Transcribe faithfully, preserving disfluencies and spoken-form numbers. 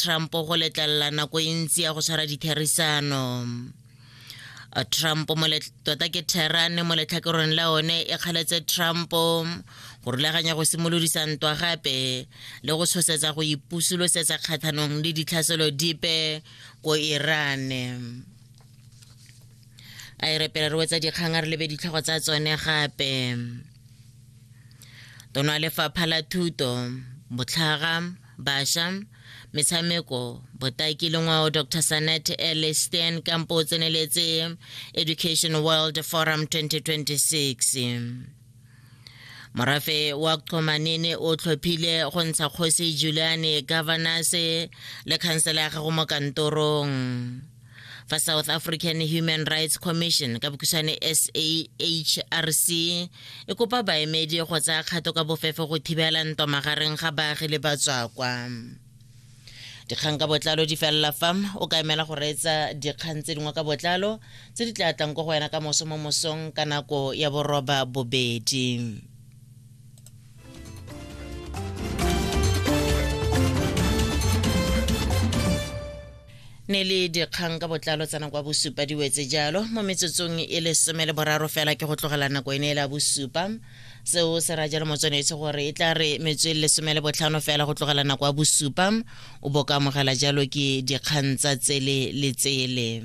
Trump go letlelela nako e ntsi ya go tshwara ditherisano. Trump mo tota ke Tehran mo letlhakoreng la one e kgaletse Trump go rulaganya go simolodisa ntwa gape le go tshosetsa go ipusulosetsa kgatlhanong le ditlhaselo dipe ko Iran. A e re pele re wetsa dikgang a re lebe ditlhogo tsa tsone gape. Tona Lefapha la Thuto, Botlhaga, Bašwa, Metshameko, Botaki le Ngwao Doctor Sanet L. Steenkamp o tseneletse Education World Forum twenty twenty-six. Morafe wa Qomanene o tlhophile go ntsha kgosi Juliane Governors le khansela ya gago mo kantorong. Fa South African Human Rights Commission ka bokhutshwane S A H R C e kopa baemedi go tsaya kgato ka bofefo go thibela ntwa magareng ga baagi le batswakwa. Dikgang ka botlalo di felela fa o ka emela go reetsa dikgang tse dingwe ka botlalo tse di tla tlang ko go wena ka moso mo mosong ka nako ya boroba bobedi. Ne le dikgang ka botlalo tsa nako ya bosupa di wetse jalo mo metsotsong e lesome le boraro fela ke go tlogela nako ene e la bosupa. Seo se ra jalo motswanetse gore e tla re metso e lesome le botlhano fela go tlogela nako ya bosupa o bo ka amogela jalo ke dikgang tsa tsele le tsele.